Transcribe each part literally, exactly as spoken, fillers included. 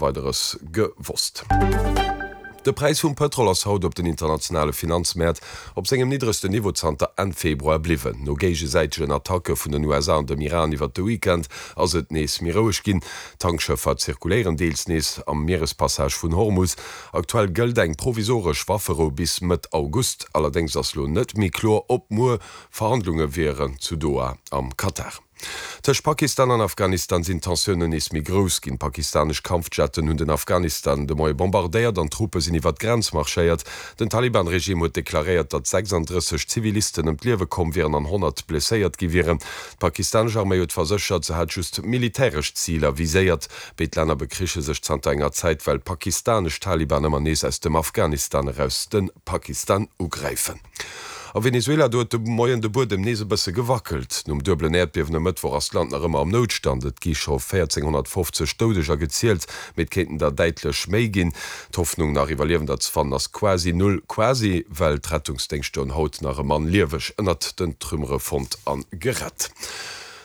Weideres gewosst. De Präis vum Pëtrol ass haut op den internationale Finanzmäert op sengem niddregsten Niveau zanter Enn Februar bliwwen. No géigesäitegen Attacke vun den U S A an dem Iran iwwert de Weekend ass et nees méi roueg ginn. Tankschëffer zirkuléieren deels nees am Mierespassage vun Hormus. Aktuell gëllt eng provisoresch Wafferou bis Mëtt August. Allerdéngs ass lo net méi kloer, ob muer Verhandlunge wieren zu Doha am Katar. Tëscht Pakistan an Afghanistan sinn d'Tensiounen nees méi grouss ginn. Pakistanesch Kampfjetten hunn den Afghanistan de Moie bombardéiert an Truppe sinn iwwer d'Grenz marschéiert. Den Taliban-Regime huet deklaréiert, datt sechsanddrësseg Zivilisten ëm d'Liewe komm wieren an honnert blesséiert gi wieren. D'pakistanesch Arméi huet verséchert, se hätt just militäresch Ziler viséiert. Béid Länner bekriche sech zanter enger Zäit, well pakistanesch Taliban ëmmer nees aus dem Afghanistan eraus de Pakistan ugräifen. A Venezuela, do huet de Moien de Buedem nees e bësse gewackelt. Nom duebelen Äerdbiewen e Mëttwoch ass d'Land nach ëmmer am Noutstand. Et gi scho véierzénghonnertfofzeg Doudeger gezielt, mee et kéinten der däitlech méi ginn. D'Hoffnung, nach Iwwerliewender ze fannen, ass quasi null. Quasi, well d'Rettungsdéngschter hunn haut nach e Mann lieweg ënnert den Trümmere fonnt a gerett.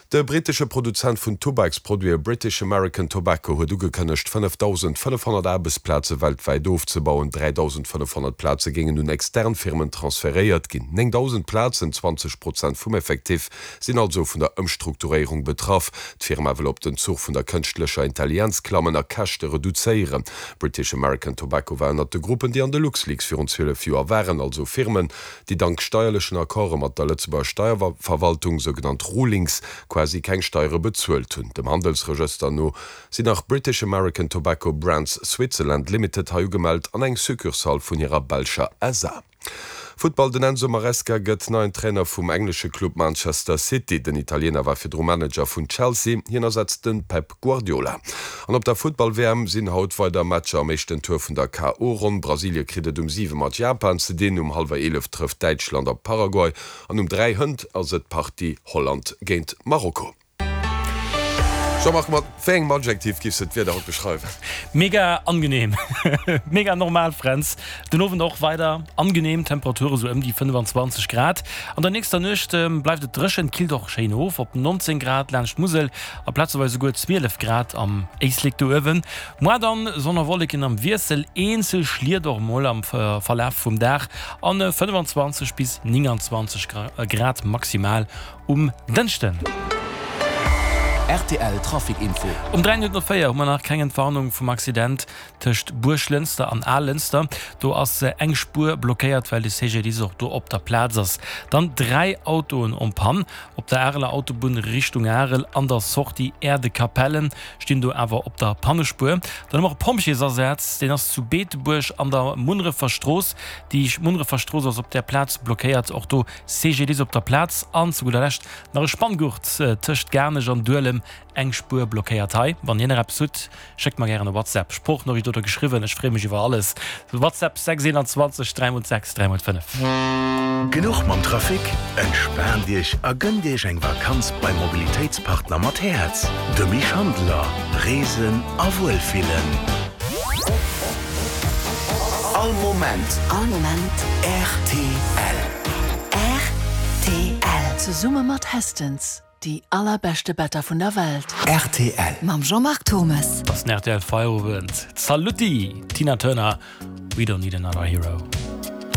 De brittesche Produzent vun Tubaksproduite British American Tobacco huet ugekënnegt, fënnefdausendfënnefhonnert Aarbechtsplaze weltwäit ofzebauen. dräidausendfënnefhonnert Plaze géingen un extern Firmen transferéiert ginn. Néngdausend Plazen, zwanzeg Prozent vum Effectif, sinn also vun der Ëmstrukturéierung betraff. D'Firma wëll op den Zuch vun der kënschtlecher Intelligenz klammen a Käschte reduzéieren. British American Tobacco war ënnert de Gruppen, déi an de LuxLeaks virun zwielef Joer waren, also Firmen, déi dank steierlechen Accorde mat der Lëtzebuerger Steierverwaltung, sougenannt Rulings, quasi keng Steiere bezuelt hunn. Dem Handelsregëster no sinn nach British American Tobacco Brands Switzerland Limited hei ugemellt an eng Succursale vun hirer belscher S A. Futtball, Den Enzo Maresca gëtt neien Trainer vum englesche Club Manchester City. Den Italiener war virdru Manager vun Chelsea. Hien ersetzt de Pep Guardiola. An op der Futtball-W M sinn haut weider Matcher am éischten Tour vun der K O-Ronn. Brasilie kritt et um siwe mat Japan ze dinn. Um hallwer eelef trëfft Däitschland op Paraguay. An um dräi hënt ass et d'Partie Holland géint Marokko. Jean-Marc, mat wéi engem Adjektiv giffs de d'Wieder haut beschreiwen? Mega angenehm. Mega normal, Fränz. Den Owend och weider angenehm, Temperature sou ëm déi fënnefanzwanzeg Grad. An der nächster Nuecht bleift et dréchen, killt och schéin of op nonzéng Grad laanscht d'Musel a plazeweis esouguer zwielef Grad am Éislek do uewen. Moar dann Sonn a Wolleken am Wiessel, eenzel Schliet och mol am Verlaf vum Dag an fënnefanzwanzeg bis nénganzwanzeg Grad maximal um Dënschden. R T L Trafic Info. Um dräi Minutten op véier hu mer nach keng Entwarnung vum Accident tëscht Buerglënster an Aalënster. Do ass eng Spuer blockéiert, well de C G D I S och do op der Plaz ass. Dann dräi Autoen en panne op der Areler Autobunn Richtung Arel an der Sortie Erdekapellen stinn do awer op der Pannespuer. Dann hu mer e Pompjeesasaz, deen ass zu Beetebuerg an der Munnerefer Strooss. Déi Munnerefer Strooss ass op där Plaz blockéiert, och do C G D I S op der Plaz. An zu gudder Lescht nach e Spanngurt tëscht Garnech an Duelem, eng Spuer blockéiert hei. Wann dir nach eppes hutt, schéckt mer gären e WhatsApp, Sproochnotiz oder geschriwwen, ech freeë mech iwwer alles. WhatsApp sechs eenanzwanzeg dräi mol sechs dräi mol fënnef. Genuch mam Trafic? Entspaant Iech a gënnt Iech eng Vakanz beim Mobilitéitspartner mat Häerz, dem Misch Handler. Reesen a Wuelfillen. All Moment. All Moment. R T L. R T L. Zesumme mat Hestens. Déi allerbeschte Better vun der Welt. R T L. Mam Jean-Marc Thomes. Das ist den R T L Feierabend. Saluti, Tina Turner. We don't need another hero.